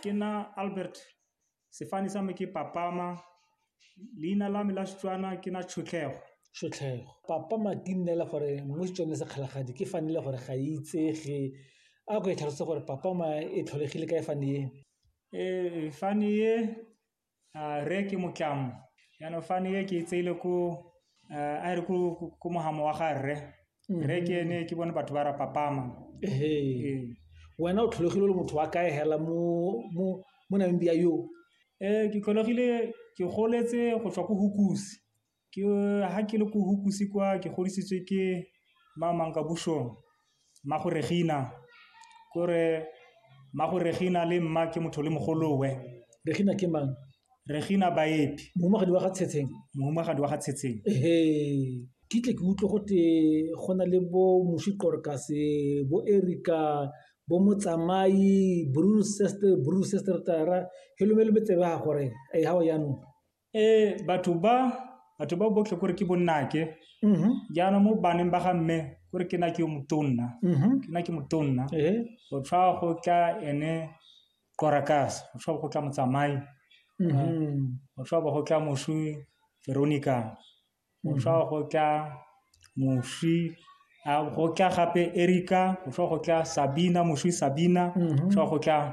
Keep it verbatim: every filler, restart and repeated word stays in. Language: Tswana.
Ke nna Albert, sefane sa me ke Papama, leina la me la Setswana ke na Tshotlego. Tshotlego. Papama ke nnela gore mo Setswaneng sa Kgalagadi ke fanele gore ga e itsege. A ko e tlhalose gore Papama e tlholegile kae fane e? Ee, fane e re ke Motlamo. Jaanong fane e ke e tseile ko a re ko mohamo wa ga rre. Rre ke ene ke bone batho ba ra Papama. Ee. Wena o tlholegile o le motho wa kae hela mo mo mo Namibia yo? Ee, ke tlholegile ke goletse go tswa ko Hukusi. Ke ha ke le ko Hukusi kwa ke godisitswe ke Mama Nkabushong, mmago Regina. Kore mmago Regina le mma ke motho le mogolowe. Regina ke mang? Regina Baepi. Mohumagadi wa ga Tshetseng. Mohumagadi wa ga Tshetseng. Ehe. Ke tle ke utlwe gote go na le bo Moswi Qorokase, bo Erica, bo Motsamai, Bruce Sester, Bruce Sester Tara, helome tsebe ga gore e ha o jaanong. Ee, batho ba batho ba botlhe kore ke bonnake. Mhm. Jaanong mo baneng ba ga mme kore ke nna ke yo motonna. Mhm. Ke nna ke motonna. Ehe. Go tshwa go tla ene Qorakase, go tshwa go tla Motsamai, Mhm. go tshwa go tla moswi Veronica, go tshwa go tla moswi a go tla gape Erica, go tshwa go tla Sabina, moswi Sabina, go Mhm. tshwa go tla